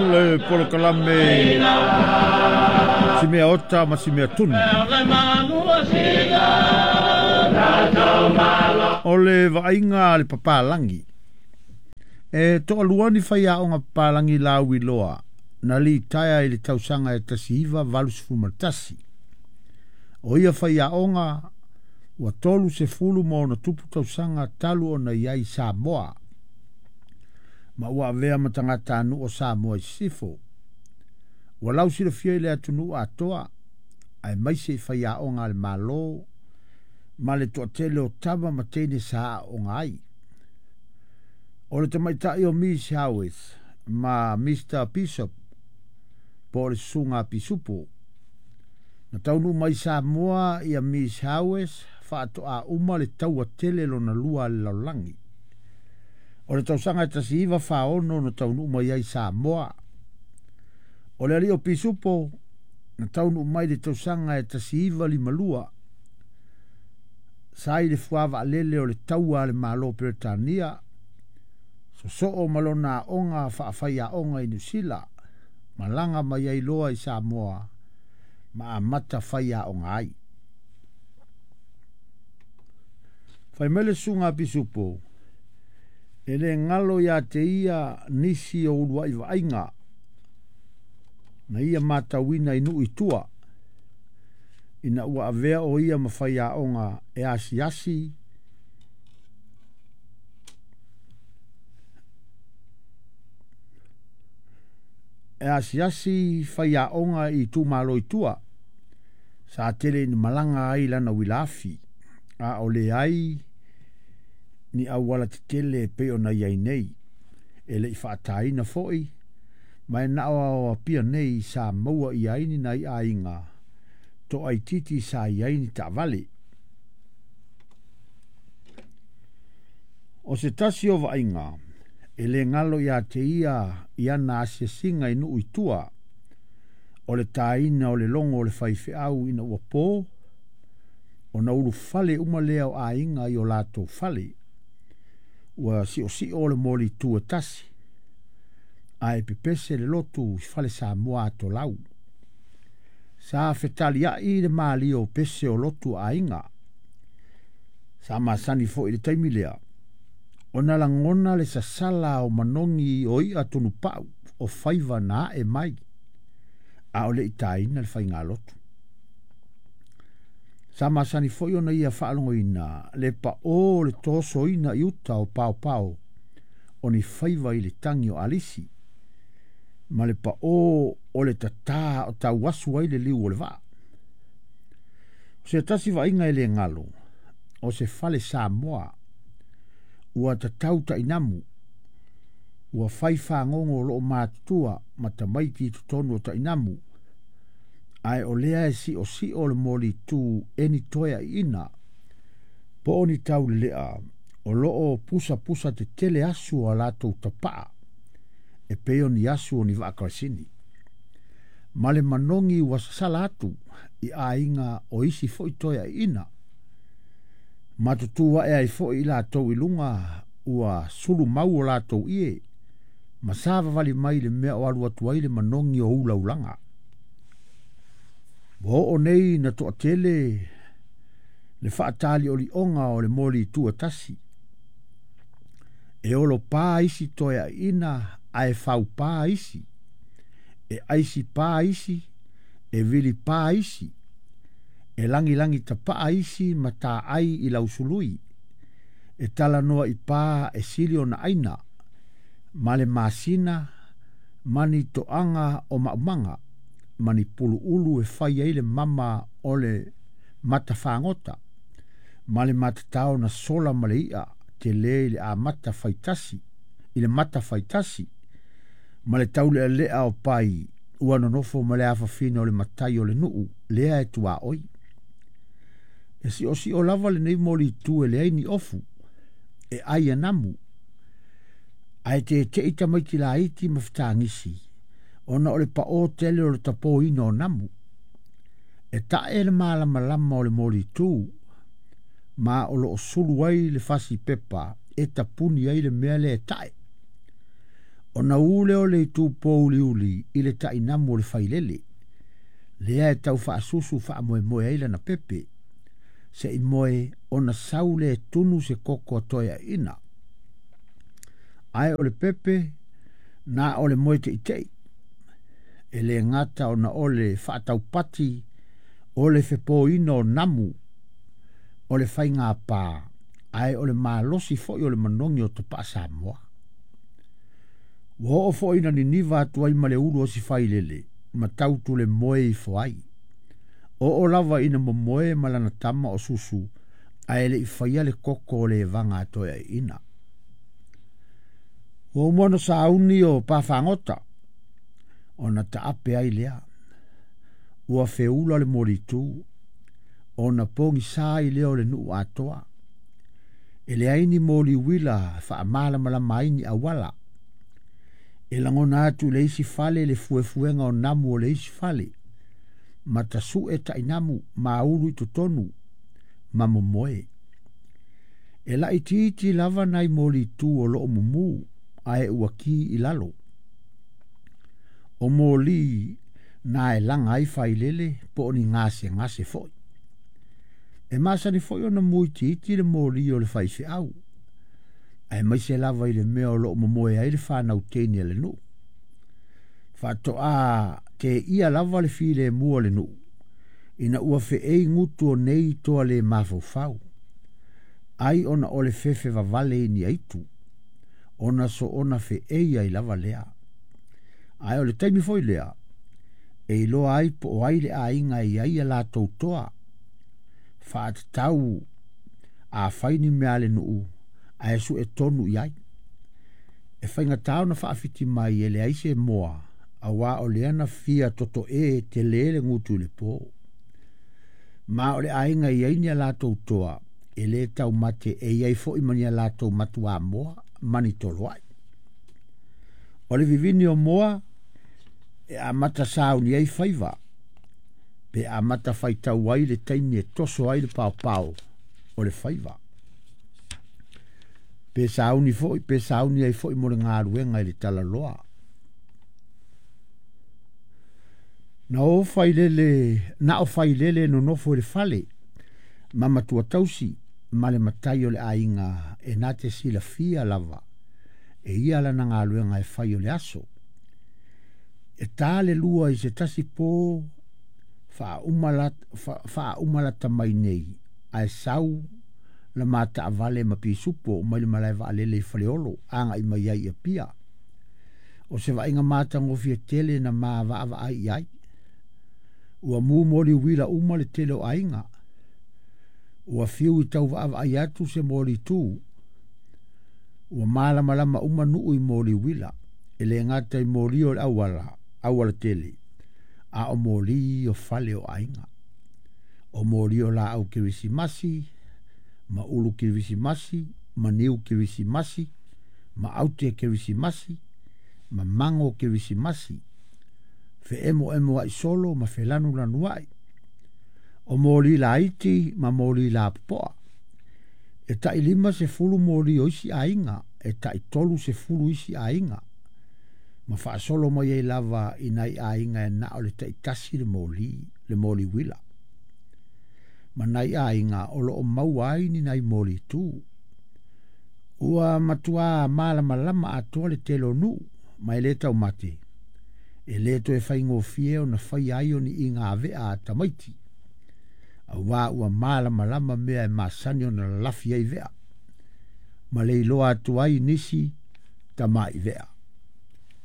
Le polokalame si mea ota ma si mea tunu. O le vaaiga a le papalagi. E toalua ni faiaoga papalagi lauiloa na litaea i le tausaga e 1981. O ia faiaoga ua 36+ tausaga talu ona i ai i Samoa, ma ua avea ma tagatanuu o Samoa i sisifo. Ua lausilafia i le atunuu atoa, aemaise i faiaoga a le Malo ma le toatele o tama ma teine sa aooga ai. O le tamaitai o Miss Howes ma Mr Bishop po o le susuga a Pisupo. Na taunuu mai Samoa ia Miss Howes faatoa uma le taua tele lona lua a le lalolagi. O le tausaga e 1946 na taunuu mai ai Samoa. O le alii o Pisupo na taunuu mai le tausaga e 1952 sa i le fuavaalele o le taua a le Malo o Peretania, sosoo ma lona aoga faafaiaoga i Niu Sila, malaga mai ai loa i Samoa ma amata faiaoga ai. Fai mai le susuga a Pisupo, e le galo ia te ia nisi o uluai vaaiga na ia matauina i nuu i tua, ina ua avea o ia ma faiaoga e asiasi faiaoga i itumalo i tua. Sa tele ina malaga ai lana uilaafi, a o leai ni auala tetele e pei ona i ai nei. E le i faataina foi, ma e na o Apia nei sa maua i ai ni nai aiga toaititi sa i ai ni taavale. O se tasi o vaaiga e le galo ia te ia i ana asiasiga i nuu i tua, o le taina o le logo o le faifeau ina ua po, ona ulufale uma lea o aiga i o latou fale. Ua siosio o le molitu e tasi, ae pepese le lotu i fale Samoa atolau. Sa fetaliai le malie o pese o lotu aiga. Sa masani foi i le taimi lea, ona lagona le sasala o manogi o i'a tunupau o faiva na ae mai, a o le i taina le faigalotu. Sa masani foi ona ia faalogoina le pao o le tosoina i uta o paopao o ni faiva i le tagi o alisi, ma le pao o le tatā o tauasu ai le liu o le vaa. O se tasi vaaiga e le galo, o se fale Samoa ua tatau tainamu, ua fai fagogo o loo matutua ma tamaiti i totonu o tainamu, ae o lea e siosio le molitu e ni toeaiina, po o ni taulelea o loo pusapusa tetele asu o a latou tapaa, e pei o ni asu o ni vaakalasini. Ma le manogi ua sasala atu i aiga o isi foi toeaiina. Matutu ae ai foi i latou i luga ua sulu mau o latou ie, ma savavali mai le mea o alu atu ai le manogi o ulaulaga. Ua oo nei na toatele le faataliolioga o le molitu e tasi. E olo pā isi toeaiina, ae faupā isi, e aisi pā isi, e vili pā isi, e langilangi tapaa isi ma taai i lausului, e talanoa i pā e sili ona aina, ma le masina, ma ni toaga o maumaga, ma ni puluulu e fai ai le mama o le matafagota, ma le matatao na sola ma le i'a tele i le amata faitasi, i le mata faitasi, ma le taulealea o pai ua nonofo ma le afafina o le matai o le nuu lea e tuaoi. E siosio lava lenei molitu e leai ni ofu, e ai e namu, ae tete'i tamaiti laiti ma fetagisi, ona o le pao tele o le tapoina o namu. E tae le malamalama o le molitu, ma o loo sulu ai le fasi pepa e tapuni ai le mea lea e tae. Ona ū lea o le itu pouliuli i le tainamu o le failele, lea e tau faasusu faamoemoe ai lana pepe, se i moe ona sau lea e tunu se koko a Toeaina. Ae o le pepe, na o le moe teitei. E le gata ona o le faataupati o le fepoina o namu o le faigāpā, ae o le malosi foi o le manogi o tapaa Samoa. Ua oo foi ina niniva atu ai ma le ulu o si failele, ma tautu le moe ifo ai. Oo lava ina momoe ma lana tama o Susu, ae le i faia le koko o le evaga a Toeaina. Ua uma ona sauni o Pafagota, ona taape ai lea. Ua feula le molitu, ona pogisa ai lea o le nuu atoa. E leai ni moli uila faamalamalama ai ni auala. E lagona atu i le isi fale le fuefuega o namu o le isi fale, ma tasue tainamu ma ulu i totonu, ma momoe. E laitiiti lava nai molitu o loo mumu, ae ua ki i lalo. O moli na e laga ai failele po o ni gasegase foi. E masani foi ona muitiiti le moli o le faifeau, aemaise lava i le mea o loo momoe ai le fanau teine a le nuu. Faatoa teia lava le filemu o le nuu, ina ua feei gutu o nei toa le mafaufau, ai ona o le fefe vavale i ni aitu, ona soona feei ai lava lea. Ae o le taimi foi lea, e iloa ai po o ai le aiga e i ai a latou toa, faatatau a fai ni mea a le nuu, ae sue tonu i ai. E faigata ona faafiti mai e leai se moa, auā o lea na fia totoē tele le gutu i le po. Ma o le aiga e i ai ni a latou toa, e le taumate e i ai foi ma ni a latou matuamoa ma ni toloai. O le vivini o moa, e amata sauni ai faiva, pe amata faitau ai le taimi e toso ai le paopao o le faiva. Pe sauni foi, pe sauni ai foi mo le galuega i le talaloa. Na o failele, na o failele nonofo i le fale, ma matua tausi, ma le matai o le aiga e na te silafia lava, e ia lana galuega e fai o le aso. E tā le lua i se tasi po faauma lata mai nei, ae sau le ma taavale ma pisupo mai le malae vaalele i Faleolo, agai mai ai i Apia. O se vaaiga matagofie tele na ma vaavaai i ai. Ua mu moli uila uma le tele o aiga. Ua fiu i tau vaavaai atu se moli tu. Ua malamalama uma nuu i moli uila. E le gata i moli o le auala, auala tele, a o moli o fale o aiga. O moli o laau kerisimasi, ma ulu kerisimasi, ma niu kerisimasi, ma aute kerisimasi, ma mango kerisimasi, feemoemo ai solo ma felanulanu ai. O moli laiti ma moli lapopoa. E tai 50 moli o isi aiga, e tai 30 isi aiga. Ma faasolo mai ai lava i nai aiga e na o le taitasi le moli uila. Ma nai aiga o loo maua ai ni nai moli tu. Ua matua malamalama atoa le tele o nuu, ma e le taumate. E le toe faigofie ona fai ai o ni iga avea a tamaiti. Auā ua malamalama mea e masani ona lalafi ai vea. Ma le iloa atu ai nisi tamai vea.